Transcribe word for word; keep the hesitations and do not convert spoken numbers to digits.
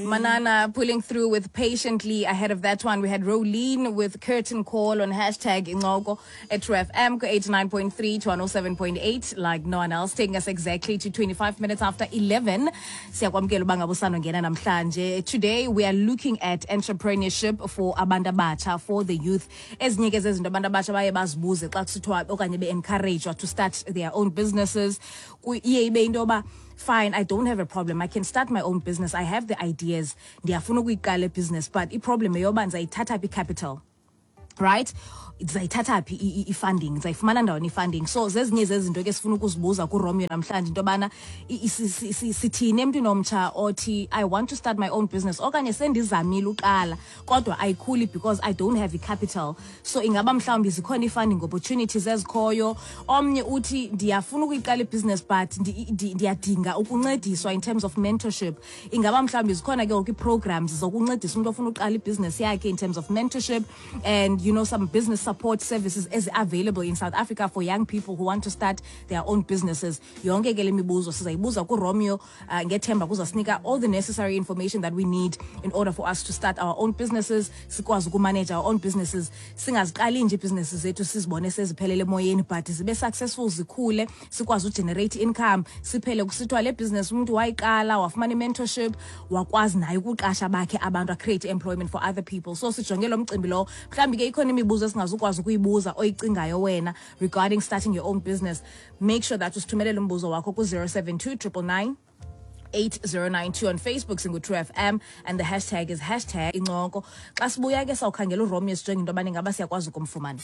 Manana pulling through with Patiently. Ahead of that one, we had Rolene with Curtain Call on hashtag Incoko at True F M eighty-nine point three to one oh seven point eight, like no one else, taking us exactly to twenty-five minutes after eleven. Siyakwamkela uba ngabe usandongena namhlanje. Today we are looking at entrepreneurship for abantu abatsha, for the youth. Ezinye ke zezinto abantu abatsha baye bazibuze xa kusithiwa okanye be-encouraged to start their own businesses, Ku- iye ibe into yoba, fine, I don't have a problem, I can start my own business, I have the ideas, ndiyafuna ukuyiqala ibusiness, but iproblem yeyoba ndizayithatha phi i-capital, right? Ndizayithatha phi i- i- i-funding? Ndizayifumana ndawoni i-funding? So zezinye zezinto ke sifuna ukuzibuza kuRomeo namhlanje, into yobana i- i- si- si- si- sithini emntwini omtsha othi, "I want to start my own business," okanye sendizamile uqala kodwa ayikhuli because I don't have i-capital. So ingaba mhlawumbi zikhona ii-funding opportunities ezikhoyo? Omnye uthi, "Ndiyafuna ukuyiqala ibhizinesi, but ndi- ndi- ndiyadinga ukuncediswa in terms of mentorship." Ingaba mhlawumbi zikhona ke ngoku ii-programs zokuncedisa umntu ofuna uqala ibhizinesi yakhe in terms of mentorship and you know some business support services ezi-available in South Africa for young people who want to start their own businesses? Yonke ke le mibuzo sizayibuza kuRomeo, uh, ngethemba kuzasinika all the necessary information that we need in order for us to start our own businesses, sikwazi ukumanage our own businesses, singaziqali nje iibhizinesi zethu sizibone seziphelele emoyeni, but zibe successful, zikhule, sikwazi ugenerate income, siphele kusithiwa le business umntu wayiqala, wafumana i-mentorship, wakwazi naye ukuqasha bakhe abantu, acreate employment for other people. So sijonge lo mcimbi lowo. Mhlawumbi ke ikhona imibuzo esingazukwazi ukuyibuza oyicingayo wena regarding starting your own business. Make sure that usithumelele umbuzo wakho ku-zero seven two nine nine nine eight zero nine two. On Facebook singu-True F M and the hashtag is hashtag Incoko. Xa sibuya ke sawukhangela uRomeo, sijonge into yobana ingaba siyakwazi ukumfumana.